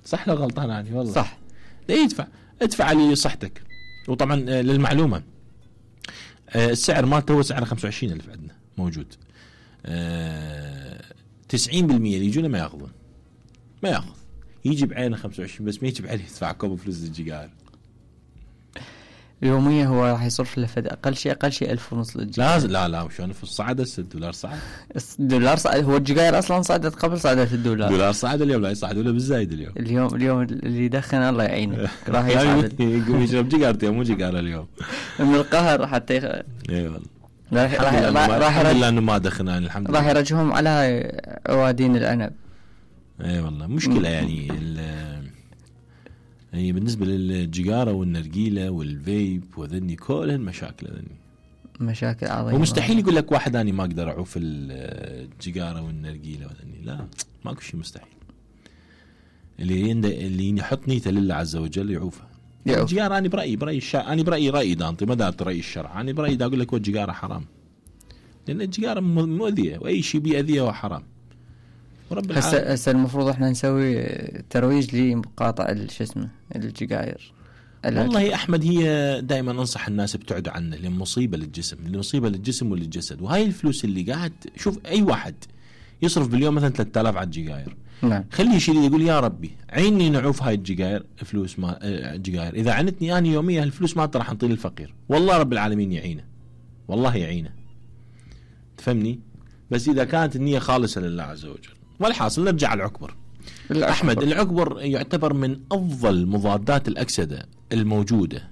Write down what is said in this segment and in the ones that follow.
صح لو غلطان يعني والله صح. لا ادفع لصحتك. وطبعا للمعلومة السعر مالته هو سعر 25,000 عندنا موجود. 90% اللي يجونا ما ياخذون، ما ياخذ، يجي بعينه 25 بس ما يجي بعينه يدفع كوب فلوس للجيجار. يوميا هو راح يصرف له اقل شيء 1,500 للجيجار. لازم لا وشون في الصعد $6 صعد. الدولار صعد، هو الجيجار اصلا صعدت قبل صعدت الدولار. الدولار صعد اليوم، لا يصعد ولا بالزايد اليوم اللي يدخن الله يعينه راح يصعد. يقوم يشرب جيجارتين مو جيجار اليوم من القهر حتى اي والله. راح الحمد لله انه ما دخنان الحمد لله. راح يرجعهم على عوادين العنب. اي والله مشكله يعني هي بالنسبه للجيجاره والنرجيله والفيب وذني كلهن مشاكل، ذني مشاكل عظيمه. ومستحيل يقول لك واحد اني ما اقدر اعوف الجيجاره والنرجيله وذني، لا ماكو شيء مستحيل. اللي يحط نيته لله عز وجل يعوفها. الجيجاره انا برايي الشرع، انا برايي دانطي ما دارت راي الشرع، انا برايي دا اقول لك الجيجاره حرام، لان الجيجاره مؤذيه واي شيء بيأذيه هو حرام. هسه المفروض احنا نسوي ترويج لمقاطعة شو اسمه الجيجاير. والله يا احمد هي دائما انصح الناس ابتعدوا عنه، لان مصيبه للجسم وللجسد. وهاي الفلوس اللي قاعد شوف اي واحد يصرف باليوم مثلا 3000 على الجيجاير، نعم، خليه يشيل يقول يا ربي عيني نعوف هاي الجيجاير فلوس ما الجيجاير، اذا عنتني انا يوميا الفلوس ما راح نطيل الفقير، والله رب العالمين يعينه، والله يعينه، تفهمني؟ بس اذا كانت النيه خالصه لله عز وجل. والحاصل نرجع على العكبر. أحمد العكبر يعتبر من أفضل مضادات الأكسدة الموجودة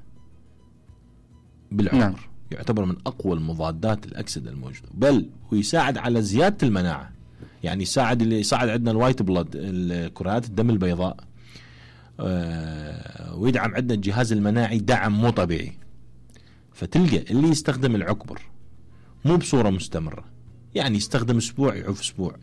بالعمر. نعم. يعتبر من أقوى المضادات الأكسدة الموجودة، بل ويساعد على زيادة المناعة، يعني يساعد عندنا الوايت بلاد الكرات الدم البيضاء، ويدعم عندنا الجهاز المناعي دعم مو طبيعي. فتلقى اللي يستخدم العكبر مو بصورة مستمرة، يعني يستخدم أسبوع يعوف أسبوع،